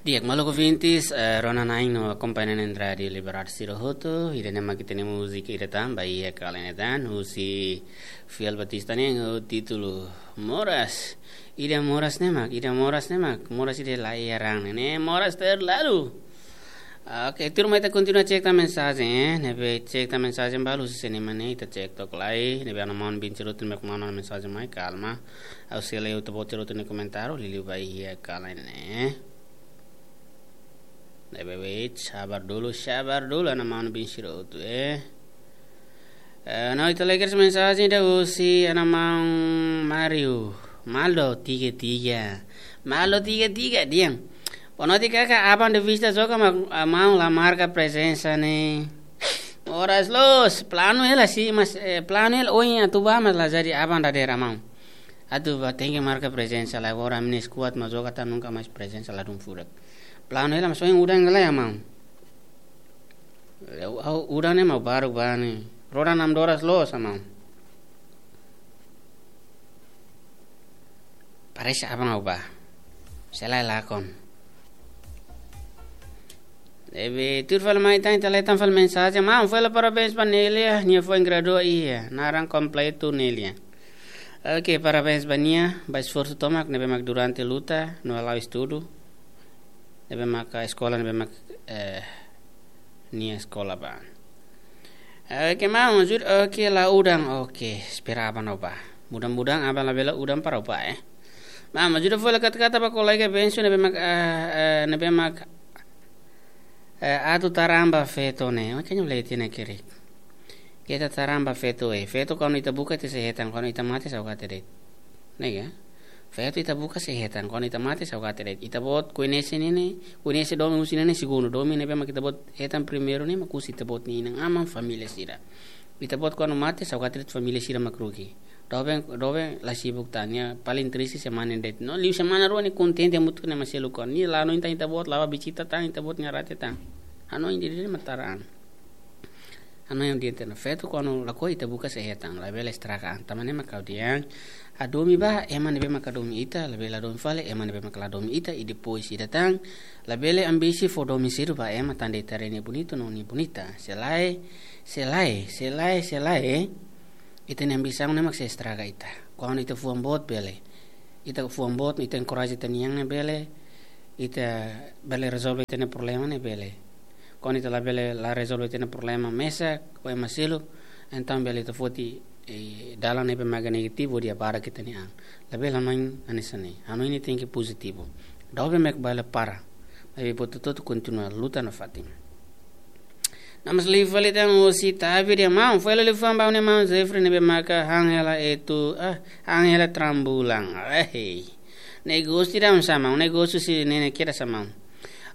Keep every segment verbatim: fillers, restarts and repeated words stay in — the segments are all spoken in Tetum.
Di'ak, maluk ouvintes, eh, rona-na'in no akompaña na'in-raan Rádiu Liberdade sira hotu, ida-ne'e mak ita-nia múzika ida tan, ba iha kala ne'e tan, husi Fiel Batista nian, ho títulu Moras. Ida moras ne'e mak, ida moras ne'e mak, moras ida la iha raan ne'e, moras terlalu. Oke, tuirmai ita kontinua cek tan mensajen, eh, ne'ebé cek tan mensajen balu husi sira-ne'e mak ne'e, ita cek took lai, ne'ebé ana maun bin sira hotu mak manda mensajen mai, kalma. Ha'u sei lee ita-boot sira hotu nia komentáriu, liuliu ba iha kala ne'e. Ne'ebé wait, sabar dulu, sabar dulu, ana maun bin sira hotu, eh. Eh, no, ita lee kedas mensajen ida husi ana maun Mario. Maldo tiga tiga. Maldo tiga tiga, di'ak. Boa noite, kaka, aban de vista joga mak, ah, maun la marka prezensa ne'e. Moras loos, planu hela sih, mas, eh, planu hela ohin atu bá, mas la jadi, aban dadeer maun. Atu bá tenke marka prezensa, la agora ami-nia skuad mak joga tan, nunka mais prezensa ladún furak. Planu hela, mas ohin udan lai, maun. Ha'u, ha'u udan ne'e mak baruk bá ne'e. Roda nam doras loos, maun. Parese aban ha'u bá. Sei la lakon. Ne'ebé tuir fali mai tan, ita lee tan fali mensajen. Maun, foin halo parabéns ba Nélia, nia foin gradua iha, naran kompletu Nélia. Oke, parabéns ba nia, ba esforsu tomak ne'ebé mak durante luta, no la'o estudu, ne'ebé mak eskola, ne'ebé mak, eh, nia eskola bá. Oke, maun, jud, oke, la udan, oke, espera aban ha'u bá. Mudah-mudahan aban labele udan para ha'u bá, eh. Maun, ajuda fali kata-kata ba kolega Bensu ne'ebé mak, eh, eh, ne'ebé mak, eh, atu tara an ba feto ne'e. Oke, nyo leti ne'e kiri. Keta tara an ba feto, eh. Feto kuandu ita buka ita sei hetan, kuandu ita mate saugate de'it. Ne'e ka? Feto ita buka sei hetan, kuandu ita mate saugate de'it. Ita-boot koñese ne'e ne'e, koñese domin husi ne'e ne'e segundu. Domin ne'ebé mak ita-boot hetan primeiru ne'e mak husi ita-boot nia inan-aman, família sira. Ita-boot kuandu mate saugate de'it, família sira mak rugi. Doben, doben la sibuk tan, nia paling triste semana de'it. No, liu semana rua nia kontente hamutuk ho ema seluk. Nia la hanoin tan ita-boot, la bá vizita tan ita-boot nia rate tan. Hanoin de'it mak tara an. Hanoin de'it ona, feto kuandu lakohi ita buka sei hetan, labele estraga an. Tanba ne'e mak ha'u dehan, hadomi bá ema ne'ebé mak hadomi ita, labele hadomi fali ema ne'ebé mak la hadomi ita, i depois ida tan, labele ambisi fó domin sedu ba ema tanba ita haree nia bonitu no nia bonita. Se lae, se lae, se lae, se lae, ita-nia ambisaun ne'e mak sei estraga ita. Kuandu ita fuan boot bele. Ita fuan boot, ita enkoraja ita-nia an ne'e bele. Ita bele rezolve ita-nia problema ne'e bele. Kuandu ita labele la rezolve ita-nia problema mesak ho ema seluk, entaun bele ita foti, eh, dalan ne'ebé mak negativu hodi abarak ita-nia an. Labele hanoin hanesan ne'e. Hanoin ne'e tenke pozitivu. Doben mak bele para. Maibé buat hotu-hotu kontinua luta nafatin. Namás liu fali tan husi Tavi dehan maun, foin halo liafuan ba ha'u-nia maun Jeffrey ne'ebé maka han hela etu, ah, han hela trambulan. Eh, negósiu ida maun, negósiu husi ne'e ne'e kedas maun.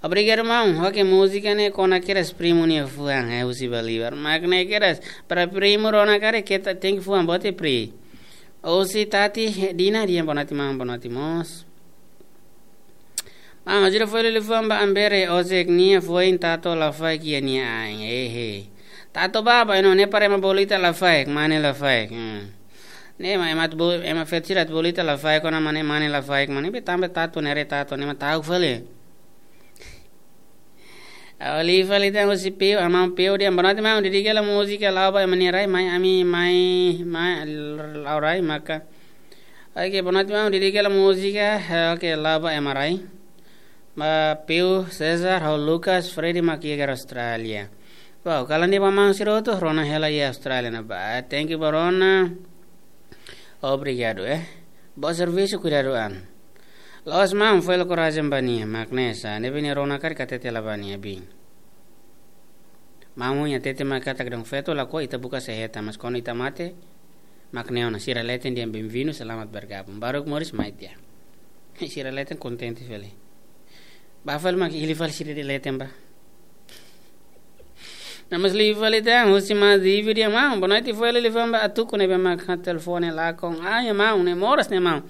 Obrigadu maun, oke, múzika ne'e kona kedas primu nia fuan, eh, husi Bolivar. Mak ne'e kedas, para primu rona karik ita tenke fuan boot, eh, pri. Husi Tati Dina dehan boa noite maun, boa noite mós. Maun, ajuda fali liafuan ba Ambere, ozek nia foin tatu lafaek iha nia ain, ehe. Tatu bá, bá, ino ne'e para ema bolu ita lafaek, mane lafaek. Hmm. Ne'e mak ema atu bo-, ema feto sira atu bolu ita lafaek, kona mane, mane lafaek, mane be tanba tatu ne'e re tatu, ne'e mak ta'uk fali. Ha'u liu fali tan husi Peu, ana maun Peu dehan boa noite maun, dedika hela múzika La'o ba Ema Nia Rai, mai ami, mai, mai, La'o Rai, maka. Oke, boa noite maun, dedika hela múzika, eh, oke, La'o ba Ema Rai. Ba Peu, Cesar, ho Lucas, Freddy mak iha Austrália. Wow, kalan di'ak ba maun sira hotu, rona hela iha Austrália ne'ebá. Thank you ba rona. Obrigadu, eh. Bom serviço, cuidado an. Loos maun, foin halo korajen ba nia, mak ne'e sá, ne'ebé nia rona karik hatete hela ba nia bin. Maun nia hatete mak katak dehan feto lakohi ita buka sei hetan, mas kuandu ita mate, mak ne'e ona, sira leten dehan bem-vindo, selamat bergabung. Baruk moris mai tiha. Sira leten kontente fali. Bá fali mak hili fali sira dehan leten bá. Namás liu fali tan, husi Madivi dehan maun, boa noite, foin halo liafuan ba atuku ne'ebé mak han telefone lakon. Ah, ya maun, ne'e moras ne'e maun.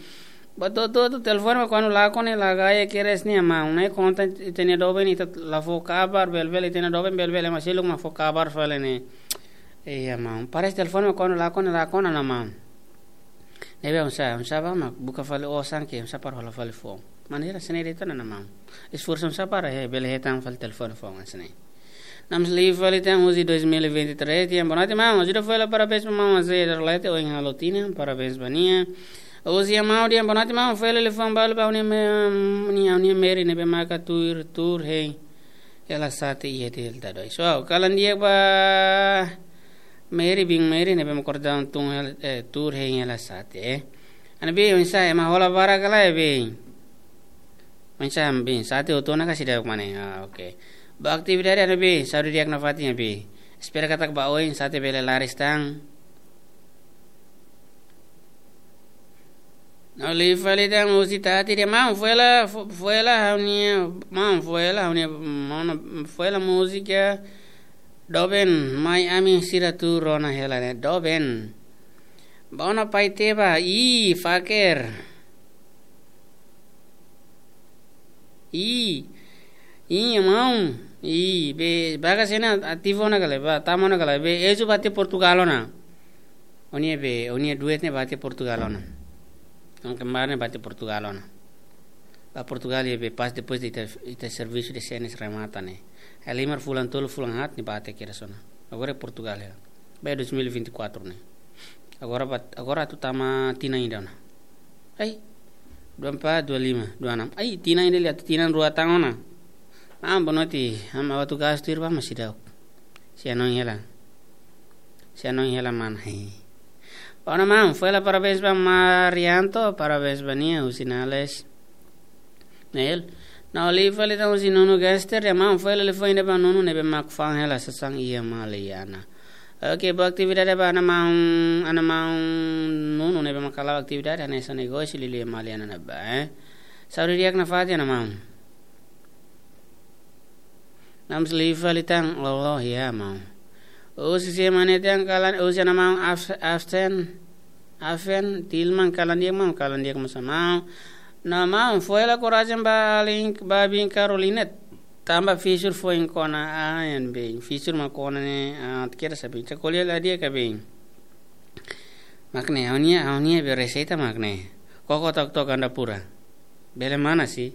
Ba to, to, to, telefone mak kuandu lakon ne'e la gaya kedas ne'e maun. Ne'e konta ita-nia doben ita la fó kabar, bele-bele ita-nia doben bele-bele ema seluk mak fó kabar fali ne'e. Iya maun. Parese telefone mak kuandu lakon ne'e lakon ona maun. Ne'ebé oinsá, oinsá bá mak buka fali osan ke, oinsá para hola fali foun. Maneira sene de tona na maun. Esforsu sa para he, bele hetan fali telefone fó mas ne. Namsli fali tan husi dois mil e vinte e três, tian boa noite, maun. Ajuda fali parabéns ba maun Azé Darlete, ohin halo tinan, parabéns ba nia. Husi maun, tian boa noite, maun. Fali liafuan balu ba ha'u-nia me-, nia, ha'u-nia Meri ne'ebé maka tuur, tuur hein hela sate iha Delta dois. Wow, kalan di'ak ba Meri, biin Meri ne'ebé mak kordau tun hela, eh, tuur hein hela sate, eh. Ana biin, oinsá, ema hola barak ka lae, biin? Oinsá, biin, sate hotu ona ka seidauk mane? Ah, oke. Ba atividade, ana biin, saúde di'ak nafatin, biin. Espera katak ba oin sate bele laris tan. Namsli fali tan husi Tati, tian maun, fó hela, fó-, fó hela ha'u-nia, maun, fó hela ha'u-nia, maun, fó hela múzika Doben, mai ami sira tuur ona hela ne'e, Doben. Ba ona pai teba, ih, faker. Ih, ih, maun. Ih, be, baga sena ativu ona ka lae, ba, tama ona ka lae, be, ezu bá to'o Portugal ona. Ó-nia be, ó-nia duet ne'e bá to'o Portugal ona. Oan kembar ne'e bá to'o Portugal ona. Bá Portugal iha be pas depois de ita, ita servisu de senes remata ne'e. Halimar fulan tolu, fulan haat ne'e bá to'o kedas ona. Agora iha Portugal iha. Bá dois mil e vinte e quatro ne'e. Agora bá, agora atu tama tinan ida ona. Ai, dua empat, dua lima, dua enam. Ai, tinan ida liu, tinan rua tan ona. Ah, boa noite. Ha'u atu gastu irba mas seidauk. Sei hanoin hela. Sei hanoin hela mana. Hei. Ba ona maun, fó hela parabéns ba Marianto, parabéns ba nia, husi Nales. Nel. Namsli fali tan husi Nunu Gangster, tian maun, fó hela liafuan ida ba Nunu ne'ebé mak fa'an hela sasán iha Maliana. Oke, ba atividade ba ana maun, ana maun Nunu ne'ebé mak halo atividade, hanesan negósiu liuliu iha Maliana ne'ebá, eh. Saúde di'ak nafatin, ana maun. Namsli fali tan, oh, oh, ya, maun. Husi sé mane tan kalan, husi ana maun Af-, Aften, Afen, Tilman, kalan di'ak, maun, kalan di'ak mós, maun. Nah, maun, fó hela korajen ba alin, ba biin Caroline. Tanba fisur foin kona, ah, iha biin. Fisur mak kona ne'e, ah, kira sabi. Cakoli la di'ak ka biin. Mak ne'e, ha'u-nia, ha'u-nia be reseita mak ne'e. Koko tok-tok ganda pura. Bele manas sih,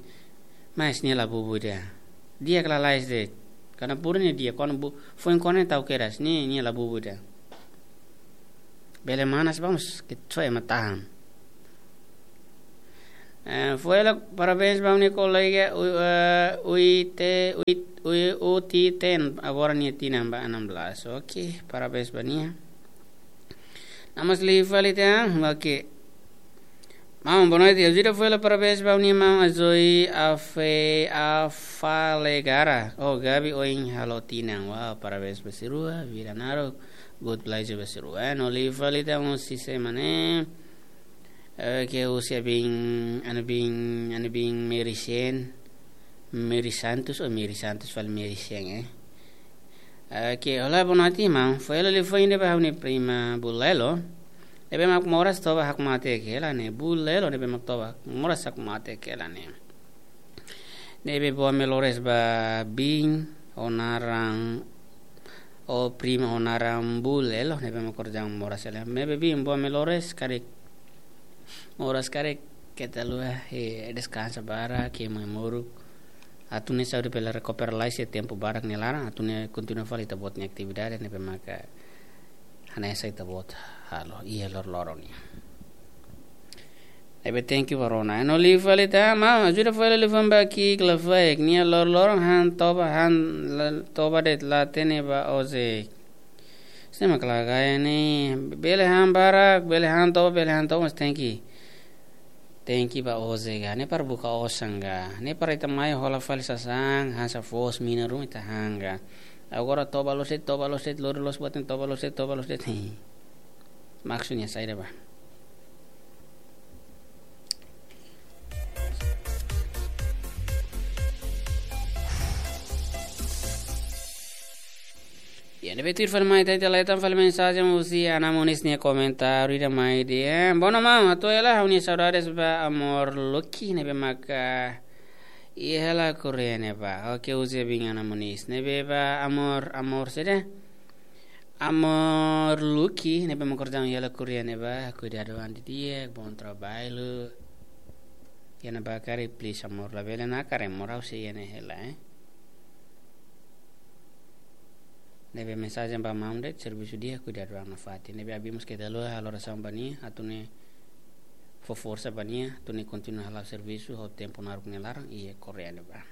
mas nia la bubu ida. Di'ak ka lae, lae de'it. Ganda pura ne'e di'ak, kona bu-, foin kona ne'e tau kedas, nia, nia la bubu ida. Bele manas bá mas, ke soe matahan. Eh, fó hela parabéns ba ha'u-nia kolega, u-, eh, U I T, U I T, U I T, U T T N, agora nia tinan ba enam belas. Oke, parabéns ba nia. Namsli fali tan, oke. Maun, boa noite. Ajuda fó hela parabéns ba ha'u-nia maun Azoi Afe-, Afalegara. Oh, Gabi ohin halo tinan. Wow, parabéns ba sira rua, vida naruk. Good pleasure ba sira rua. Eh, namsli fali tan husi sé mane. Oke, husi biin, ana biin, ana biin Mary Sen. Mary Santos, oh, Mary Santos fali Mary Sen, eh. Oke, olá, boa noite, maun. Fó hela liafuan ida ba ha'u-nia prima Bulelo. Ne'ebé mak moras toba hakmatek hela ne'e. Bulelo ne'ebé mak toba moras hakmatek hela ne'e. Ne'ebé boa melhores ba biin, ho naran, ho prima ho naran Bulelo, ne'ebé mak kordau moras hela. Ne'ebé biin boa melhores, karik moras karik, keta haluha, eh, deskansa barak, ke mai moruk. Atu nune'e saúde bele rekupera lai, se tempu barak nia laran, atu nune'e kontinua fali ita-boot nia atividade, ne'ebé maka hanesan ita-boot halo iha loroloron nian. Ne'ebé thank you ba rona. Namsli fali tan, maun, ajuda fó hela liafuan ba Kik Lafaek, nia loroloron han toba, han la-, toba de'it la hatene ba Ozek. Sé mak la gaya ne'e, bele han barak, bele han toba, bele han toba, mas tenke, tenke ba Ozek ka. Ne'e para buka osan ka. Ne'e para ita mai hola fali sasán, hanesan foos mina ruma ita han ka. Agora toba loos de'it, toba loos de'it, lori loos buat ne'e, toba loos de'it, toba loos de'it. Hei. Maksudnya saida bá. Ya, ne'ebé tuir fali mai, ita ita leten fali mensajen husi Ana Monis nia komentáriu ida mai dehan: Boa noite maun, hato'o hela ha'u-nia saudades ba Amor Lucky ne'ebé maka iha hela Korea ne'ebá. Oke, husi biin Ana Monis. Ne'ebé ba Amor, Amor saida? Amor Lucky ne'ebé mak kordau iha hela Korea ne'ebá. Kuidadu an didi'ak, bom trabalho. Iha ne'ebá karik, please amor, labele nakar amor, ha'u sei iha ne'e hela, eh. Ne'ebé mensajen ba maun de'it, servisu di'ak, kuidadu an nafatin. Ne'ebé abrimos ke dalo halo orasaun ba nia, atu nia fó forsa ba nia, atu nia kontinua hala'o servisu, ho tempu naruk nia laran, iha Koreia ne'ebá.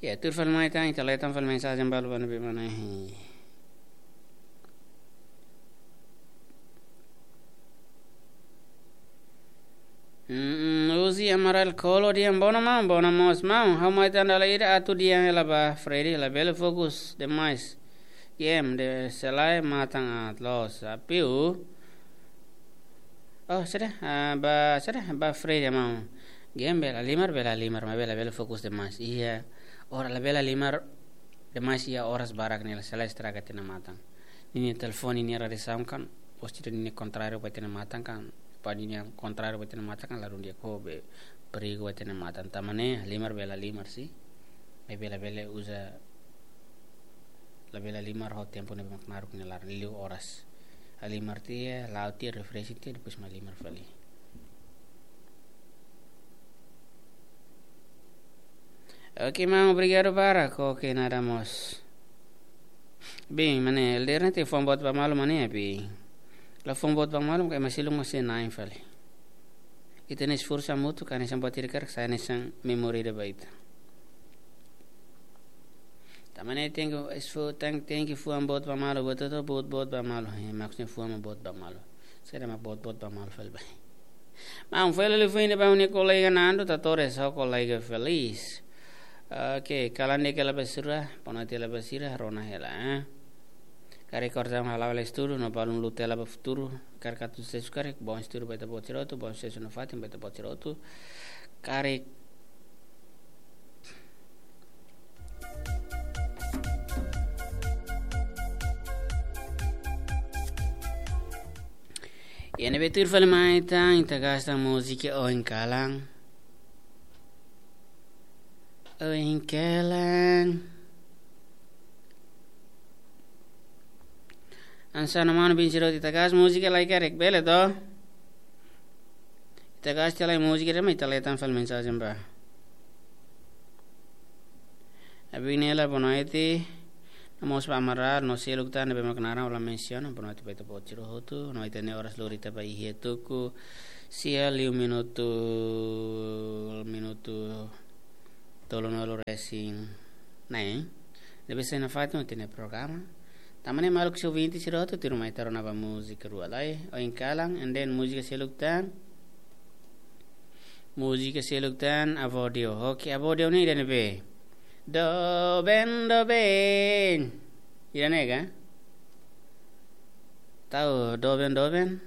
Ya, tuir fali mai tan, ita leten fali mensajen balu ba ne'ebé mana, eh. Hmm, Uzi Amaral Kolo dehan, bona maun, bona mós maun. Ha'u mai tan dala ida atu dehan hela ba Freddy, labele fokus demais game, de selae matan aat loos. Apiu. Oh, sudah, ah, ba, sudah, ba Freddy maun. Game bele halimar, bele halimar, maibé labele fokus demais. Iha, ora labele halimar demais iha oras barak ne'e, selae estraga ita-nia matan. Ninia telefone, ninia radiasaun kan, postu ninia kontráriu ba ita-nia matan kan, ba ninia kontráriu ba ita-nia matan kan, la dún di'ak, ho be perigu ba ita-nia matan. Tanba ne'e, halimar bele halimar, sin. Maibé labele uza, labele halimar ho tempu ne'ebé mak naruk nia laran, liu oras. Halimar tiha, la'o tiha, refreshing tiha, depois mak halimar fali. Oke, maun, obrigadu barak. Oke, nada mós. Bem, mane, elder ne'e tenke fó buat ba malu, mane, bem. La fó buat ba malu, karik ema seluk mós sei na'in fali. Ita-nia esforsu hamutuk, hanesan buat ida karik sai hanesan memória ida ba ita. Tanba ne'e tenke esfo-, ten-, tenke fó buat ba malu, buat hotu, buat, buat ba malu. Eh, maksudnya fó buat ba malu. Saida mak buat, buat ba malu fali ba. Maun, fali liafuan ida ba ha'u-nia kolega Nando, Tatores, ho kolega Feliz. Oke, kalan di'ak hela ba sira, bonoite hela ba sira, rona hela, eh. Karik korta hala'o hela estudu, no balun luta hela ba futuru, karik atu susesu karik, bom estudu ba ita-boot sira hotu, bom susesu nafatin ba ita-boot sira hotu. Karik Iha ne'ebé tuir fali mai tan, ita gasta múzika Oin Kalan. Oin Kalan. Hanesan mana bin siro ita gasta múzika lai karik bele to. Ita gasta lai múzika de'it mak ita leten fali mensajen ba. Abinela, bonoite. Namoos ba Amaral, no seluk tan ne'ebé mak naran ha'u la mensiona, bonoite ba ita-boot sira hotu, no ita-nia oras lori ita ba iha tuku, sia liu minutu, minutu tolunulu resin neen. Ne'ebé sai nafatin ita-nia programa. Tanba ne'e maluk sira ouvinte sira hotu, tuirmai ita rona ba múzika rua lai, Oin Kalan, and then múzika seluk tan. Múzika seluk tan Avó Deu. Oke, Avó Deu ne'e ida ne'ebé? Doben, doben. Ida ne'e ka? Ta'uk, doben, doben.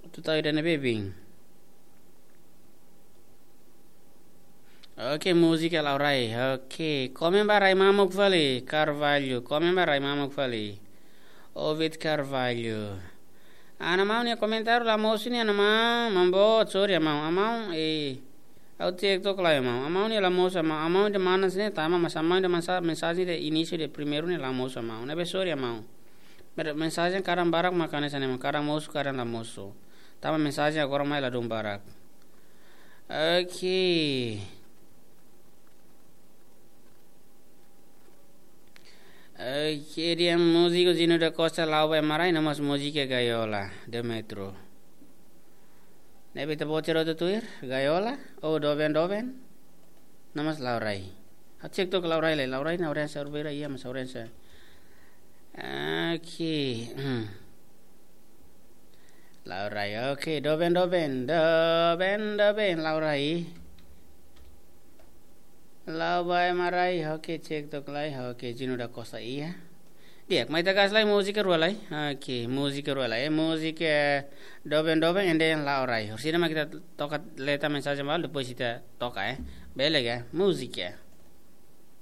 Atu ta'uk ida ne'ebé, bin? Oke, múzika Laurai. Oke, komen ba Rai Mamuk fali, Carvalho. Komen ba Rai Mamuk fali. Ovid Carvalho. Ana maun nia komentáriu la mosu ne'e, ana maun, maun boot, sorry, ana maun. Ana maun, eh, ha'u TikTok lai, ana maun. Ana maun nia la mosu, ana maun. Ana maun nia mana sini, tama, mas ana maun nia mensa-, mensajen ida inísiu ida primeiru ne'e la mosu, ana maun. Ne'ebé sorry, ana maun. Mer-, mensajen kadang barak mak hanesan ne'e, kadang mosu, kadang la mosu. Tanba mensajen agora mai ladún barak. Oke. Oke, dehan múziku Zino da Costa, La'o ba Ema Rai, no mós múzika Gaiola, Demetro. Ne'ebé ita-boot sira hotu tuir, Gaiola, ou Doben Doben, no mós Laurai. Ha'u cek tok Laurai lai, Laurai nia audiénsia beira, iha mós audiénsia. Oke. Laurai, oke, doben, doben, doben, doben, Laurai. La'o ba Ema Rai, oke, cek tok lai, oke, Zino da Costa iha. Di'ak, mai ita gasta lai múzika rua lai. Oke, múzika rua lai, eh, múzika, eh, doben, doben, and then Laurai. Orsida mak ita toka leten mensajen balu, depois ita toka, eh. Bele ka, múzika.